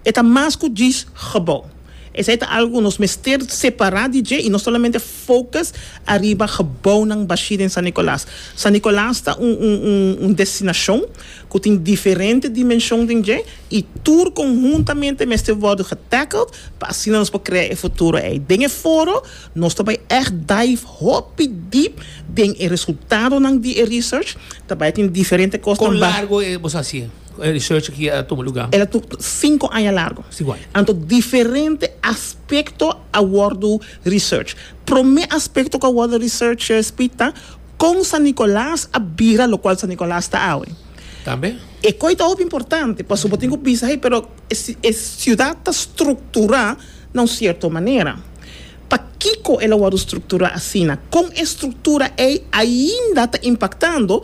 e ta mas ku djis gebouw. Esei ta algu nos mester separá di dje i no solamente focus ariba gebouwnan bashí na San Nicolas. San Nicolas ta un, un, un, un destinashon ku tin diferente dimenshon di dje i tur konhuntamente mester wòrdu getackled pa asina nos por krea e futuro ei. Den e foro, nos tambe echt dive hopi deep den e resultadonan di e research, tambe tin diferente kos. Kon largu e bo hasi? E research aki a tuma lugá? El a sinku aña largu. Sinku aña. Anto diferente aspekto a wòrdu research. Promé aspekto ku a wòrdu research spita kon San Nicolas a bira lokual San Nicolas ta awe. Tambe? E kos ta importante, pasobra bo tin ku pensa, hey, pero e siudat ta strukturá na un sierto manera. Pakiko el a wòrdu strukturá asina? Kon e struktura ei ainda ta impaktando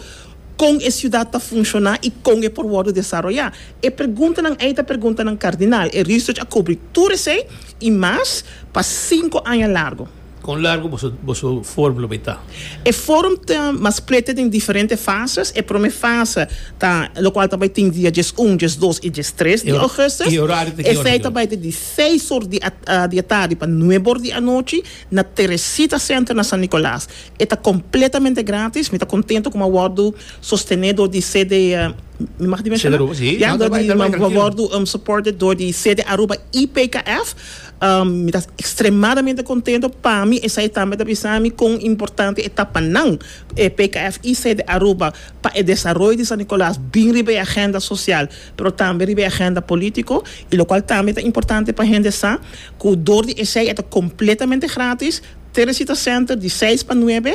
kon e siudat ta funshoná i kon e por wòrdu desaroyá. E preguntanan ei ta preguntanan kardinal. E research a kubri tur esei i mas pa sinku aña largu. Kon largu bo bo forum ta? E forum ta mas split den diferente fase. E promé fase ta lokual tambe tin dia un, dos i tres di ougùstùs. E orario di ki Esei tambe di seis or di, uh, di atardi pa nuebe or di anochi na Teresita Center na San Nicolas. E ta kompletamente gratis. Mi ta kontentu ku a wòrdu sostené di C D, uh, mi mag di menshoná? C D Aruba, sí. Ja, No, door bai, di, bai, ma trankil. Wòrdu um, supported door di C D Aruba i P K F. Um, mi ta ekstremadamente kontentu. Pa mi, esei tambe ta bisa mi kon importante e ta pa nan, eh, P K F i C D Aruba pa e desaroyo di San Nicolas, bin riba e agenda sosial, pero tambe riba e agenda polítiko, i lokual tambe ta importante pa hende sa, ku dor di esei ta kompletamente gratis. Teresita Center di seis pa nuebe,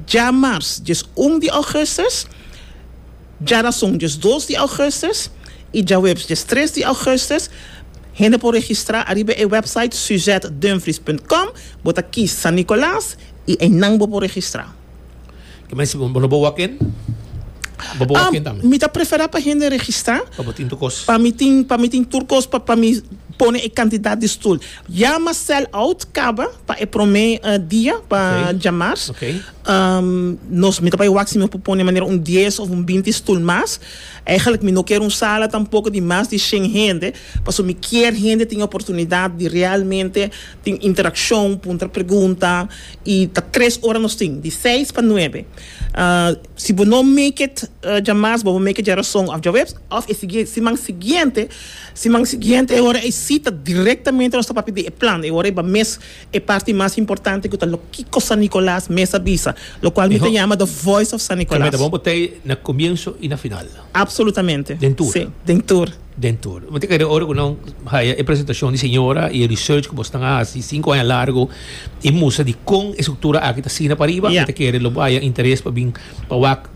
djamars, un di ougùstùs, djarason, dos di ougùstùs i djaweps, tres di ougùstùs. Hende por registrá ariba e website suzettedumfries punt com, bo ta kies San Nicolas i einan bo por registrá. Ke men bo no walk in? Bo walk in tambe. Mi ta preferá pa hende registrá. Pa bo tin tur kos. Pa mi tin, pa mi tin tur kos, pa pa mi pone e kantidat di stul. Ya m'a sell out kaba pa e promé uh, dia pa Ok. djamars. Ok. Um, nos mi ta bai wak si mi por pone manera un dies òf un binti stul mas. Eigenlijk mi no ke un sala tampoko di mas di shen hende, paso mi ke hende tin oportunidat di realmente tin interakshon, puntra pregunta i ta tres ora nos tin, di seis pa nuebe. Uh, si bo no make it uh, djamars, bo make it djarason òf djaweps, òf e siguiente, siman siguiente, siman siguiente e ora e sita direktamente nos ta papia di e plan, e ora e mes e parti mas importante ku ta loke San Nicolas mes a bisa, lokual mi ta Miho. yama The Voice of San Nicolas. Ta bon bo tei na komienso i na final. Absolutamente. Den tur. Sí, den tur. Den tur. Mi ta kere ora ku nan haya e presentashon di señora i e research ku bo a hasi sinku aña largu i mustra di kon e struktura aki ta asina pa ariba, Ja. mi ta kere lo haya interes pa bin pa wak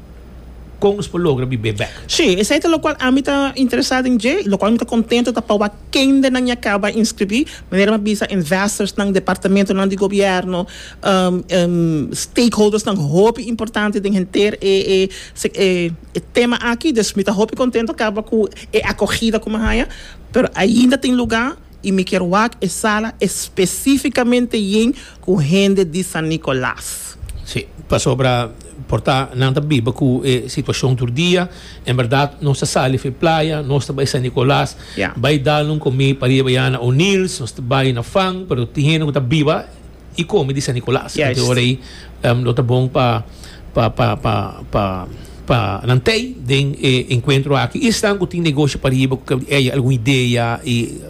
kon nos por logra biba bèk. Sí, esei ta lokual ami ta interesá den dje, lokual mi ta kontentu ta pa kende nan a kaba inskribí, manera m'a bisa, investors nan departamentonan di gobièrnu, um, um, stakeholders nan hopi importante den henter e e se- e, e tema aki, dus mi ta hopi kontentu kaba ku e akohida ku m'a haya, pero ainda tin lugá i mi ke wak e sala espesífikamente yen ku hende di San Nicolas. Sí, pasobra por ta nan ta biba ku e situashon tur dia. En berdat, nos ta sali for di Playa, nos ta bai San Nicolas, Yeah. bai dal un kome pa riba na O'Neill's, nos ta bai na Fang, pero tin hende ku ta biba i kome di San Nicolas. Juist. Anto, ora ei, um, lo ta bon pa pa pa pa pa pa nan tey den eh, encuentro aki. Y esnan cu tin negoshi pariba, cu eh, algun idea y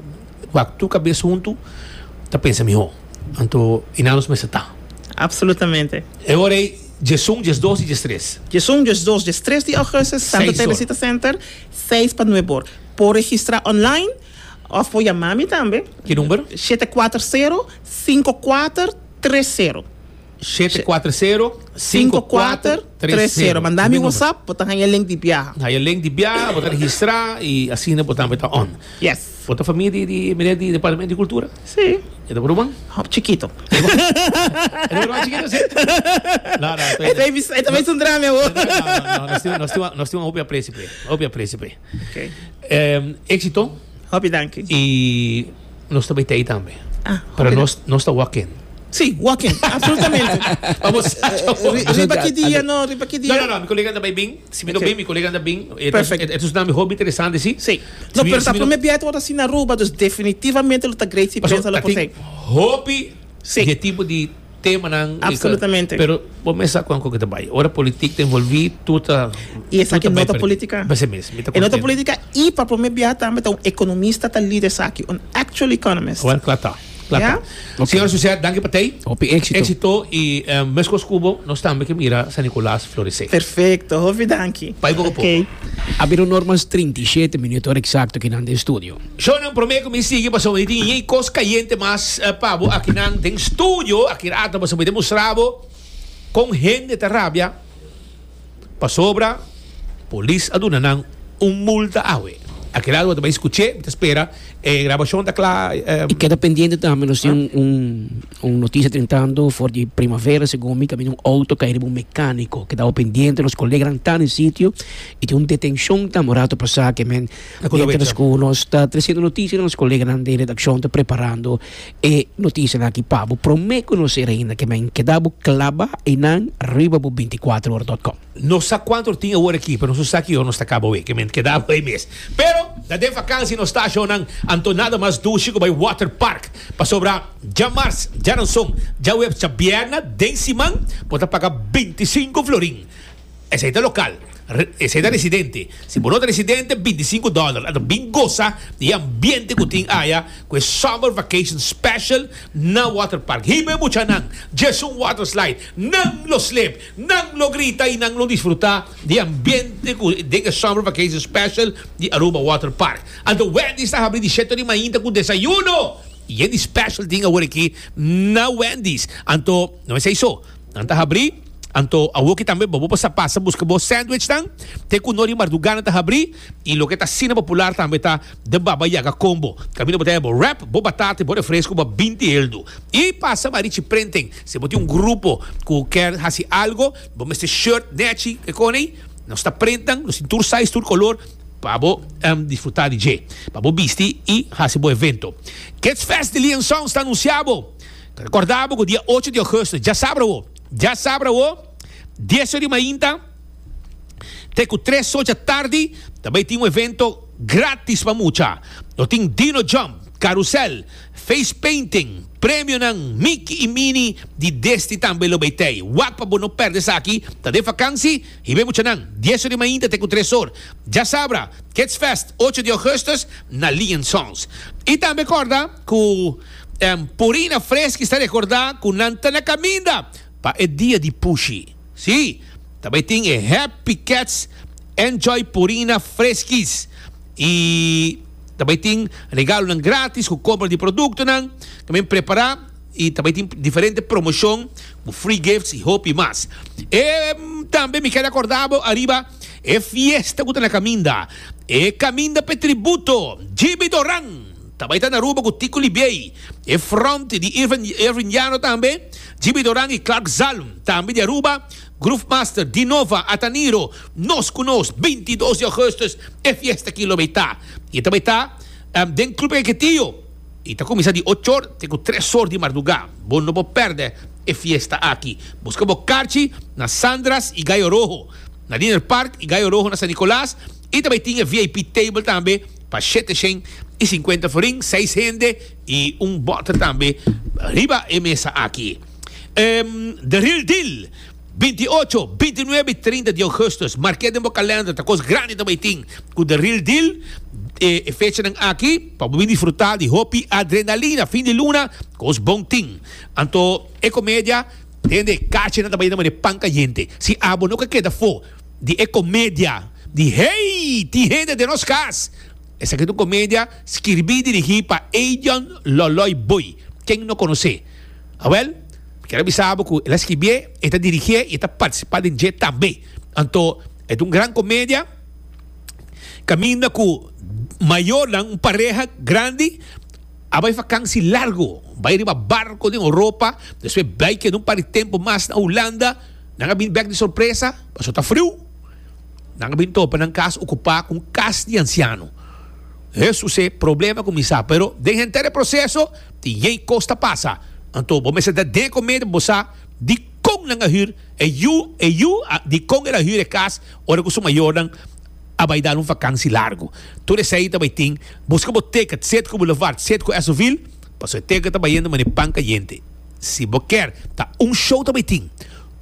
wak tur cabes hunto ta pensa miho. Anto einan nos mester ta. Absolutamente. E ora ey diesun, diesdos y diestres. Diesun, diesdos, diestres di augustus, Santa Seis or. Teresita Center, seis pa nuebe or. Por registra online of por yama mi tambe. Ki number? shete cuater sero, cinco cuater tres sero. shete cuater sero, cinco cuater tres sero. Manda mi WhatsApp, bo ta haya link di biaha. Haya link di biaha, bo ta registra y asina bo tambe ta on. Yes. Bo ta famia di, di, di, di Departamento di Cultura? Si. E ta ruman? Hop, chikito. E ruman chikito, si? No, no, E tambe un drama, No, no, no, nos tin, nos tin, nos tin un hopi aprecio, pe. Hopi aprecio, pe. Ok. Um, exito Hopi danki. y nos tambe tin tambe. Ah, Pero hopi nos, nos ta walk-in. Si, walk-in, absolutamente. Vamos. Riba ki dia, no, riba ki dia. No, no, no, mi colega tambe bin. Si mi no Ok. bin, mi colega tambe bin. Perfect. Esaki ta un hopi interesante, si. Si. No, pero ta prome biaha asina na Aruba, dus definitivamente lo ta great si prensa lo por Tin hopi Si. di tipo di temanan. Absolutamente. Pero bo mes sa con cu ta bay. Ora politica ta envolvi, tur ta Y esaki no ta politica. Esey mes, mi ta E no ta contento. politica y pa prome biaha tambe un economista ta lider aki, un actual economist. Well, claro ta. Claro Ja? ta. Señor Social, danki pa bo. Hopi exito. Exito y um, mescos cu bo, nos tambe kier mira San Nicolas florece. Perfecto, hopi danki. Bai poco poco. Ok. A bira normas trinta y shete minuut exacto aki na studio. Show prome cu mi sigui paso mi tin cos cayente mas uh, pa bo aki na den studio aki rato paso mi demostra bo con hende ta rabia pasobra polis a duna nan un multa awe. Aki rato tambe scucha, ta spera eh, grabacion ta cla eh, Y keda pendiente tambe, nos tin un, un, un noticia drentando for di Primavera, segun mi, caminda un auto cay un mecanico, keda pendiente, nos coleganan ta na sitio, y tin un detencion tambe rato pasa kiermen, mientras cu nos ta treciendo noticia, nos coleganan di redaccion ta preparando e noticia aki pa bo prome conoce ainda kiermen keda bo clava einan riba bo veinticuater ora punto com. No sa cuanto tin awor aki, pero nos sa cu no ta caba kiermen keda ey mes. Pero da den vakantie nos ta nan anto nada mas dushi cu bay water park. Pasobra diamars, diaranson, diahuebs, diabierna, den siman, bo ta paga binticinco florin. Esey ta local. Re- Esey ta residente. Si bo no ta residente, binticinco dollar. Anto bin goza di ambiente cu tin aya, cu summer vacation special na water park. Hiba muchanan, just un water slide. Nan lo slip, nan lo grita y nan lo disfruta di ambiente cu di summer vacation special di Aruba Water Park. Anto Wendy's ta habri di shete di mainta cu desayuno. Y e special tin awor aki na Wendy's. Anto, no ta esey so. Nan ta habri. Anto, awo aki tambe, bo pasa pasa busca bo sandwich tan, te cu nori mardugana ta habri, y loke ta asina popular tambe ta the Baba Yaga combo. Caminda bo ta bo wrap, bo batata, bo refresco, bo binti eldo. Y pasa Marichi Printing. Si bo tin un grupo cu kier haci algo, bo mester shirt, nechi, cu cone, nos ta printan, nos tin tur size, tur color, pa bo um, disfruta di dje. Pa bo bisti y haci bo evento. Kids Fest di Leon Sons ta anunciando. Recorda cu dia ocho di augustus, diasabra, diasabra, dies or di mainta, te cu tres or di atardi, tambe tin un evento gratis pa mucha. Nos tin Dino Jump, Carousel, Face Painting, premio nan Mickey y Minnie di Disney tambe lo bay tey. Wak pa bo no perde esaki, ta den vakantie, y bin muchanan, dies or di mainta te cu tres or. Diasabra, Kids Fest, ocho di augustus, na Leon Sons. Y tambe corda cu um, Purina Fresca ta recorda cu nan ta na caminda pa e dia di Pushi. Si, tambe tin e Happy Cats Enjoy Purina Friskies. Y tambe tin regalonan gratis cu compra di productonan. Tambe prepara y tambe tin diferente promocion cu free gifts y hopi mas. E tambe mi kier recorda ariba e fiesta cu ta na caminda. E caminda pa tributo. Jimmy Doran. Tambe ta na Aruba cu Tico Libier. E front di Irvin, Irvin Llano tambe. Jimmy Doran y Clark Zalm. Tambe di Aruba. Groove Master, Dinova, Ataniro. Nos cu nos, bintidos di augustus. E fiesta aki lo ta. Y tambe ta um, den Club Ejecutivo. Y ta cuminsa di ocho or, te tres or di marduga. Bo no por perde e fiesta aki. Busca bo carchi na Sandras y Gallo Rojo. Na Dinner Park y Gallo Rojo na San Nicolas. Y tambe tin V I P table tambe pa shete shen y cincuenta florin, seis hende y un boter tambe riba e mesa aki. Um, The Real Deal. Binti ocho, binti nuebe i trinta di ougùstùs. Marka den bo kalender, ta kos grandi tambe tin. Ku The Real Deal, e, fecha aki, pa bo disfrutá di hopi adrenalina, fin di luna, kos bon tin. Anto, e komedia, tende, kachi nan tambe di pan kayente. Si abo no keda afó di e komedia, di "Hey, tin hende den nos kas". Esaki ta un komedia skirbí i dirigí pa Adrian Loloy Boy. Ken no konosé? Awèl, ke bisa ku el a skirbi, e ta dirigí i ta partisipá den dje tambe. Anto, e un gran komedia. Kaminda ku mayor, un pareha grandi, a bai vakantie largu, bai riba barku di Europa, despues bai keda un par di tempu mas na Hulanda, nan a bin bèk di sorpresa, paso ta friu. Nan a bin topa nan kas okupá ku kas di ansiano. Hesus, e problema kuminsá, pero den henter proseso, tin yen kos ta pasa. Anto, bo mester ta den komedia, bo sa di kon nan a hür, e yu, e yu, di kon el a hür e kas, ora ku su mayornan a bai dal un vakantie largu. Tur esei tambe tin, buska bo ticket, Citgo Boulevard, Citgo Essoville, paso e ticket ta bayendo manera pan kayente. Si bo ke, ta un show tambe tin.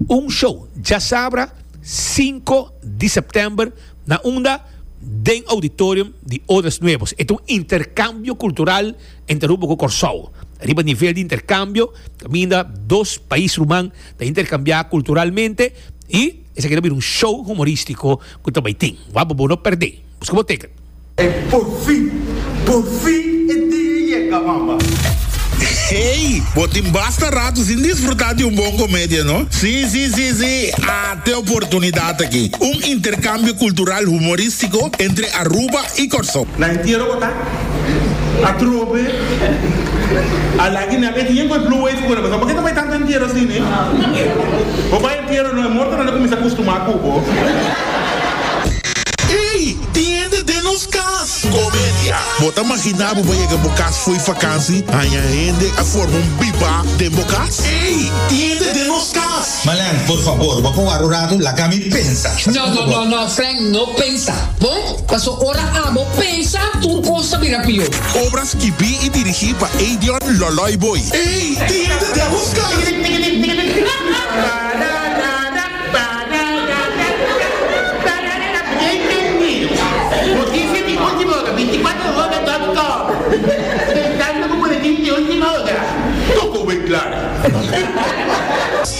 Un show, djasabra, sinku di sèptèmber, na unda den auditorium di Odres Nuevos. E un interkambio kultural entre Aruba ku Kòrsou. Riba nivel di interkambio, kaminda dos pais ruman ta interkambiá kulturalmente i esaki ta un show humorístiko ku tambe tin. Wak bo no pèrdè. Buska bo ticket. E por fin, por fin e dia a yega, mama. Hey, bo tin basta ratu sin disfrutá di un bon komedia, no? Si, si, si, si. Ata e oportunidat aki. Un interkambio kultural humorístiko entre Aruba i Kòrsou. Na entiero bo ta? Atrobe. Alagi na bet yen koi blue wave ko na ba. Bakit may tanto entiero asina, eh? Bo bai entiero no, e morto nan a kuminsá kustumá ku bo. Hey, tin hende den nos kas. Komedia. Bo ta imaginá bo yega bo kas for di vakantie, haña hende a forma un biba den bo kas? Hey, tin hende den nos kas. Malen, por fabor, bo por un ratu, laga mi pensa. No, no, no, no, Frank, no pensa. Bon, paso ora abo pensa, tur kos ta bira pió. Obra skirbí i dirigí pa Adrian Loloy Boy. Hey, tin hende den nos kas. Notisia di última ora, bintikuater hora punto com. Pensando ku boletin di última ora. Toko bem claro.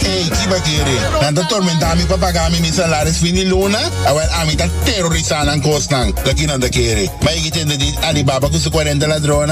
Hey, ki bakere. Nan ta tormentá mi pa paga mi salario fin di luna. Awor ami ta terorisá nan kosnan. Daki nan ta kere. Ma e tende di Alibaba ku su kuarenta ladronnan.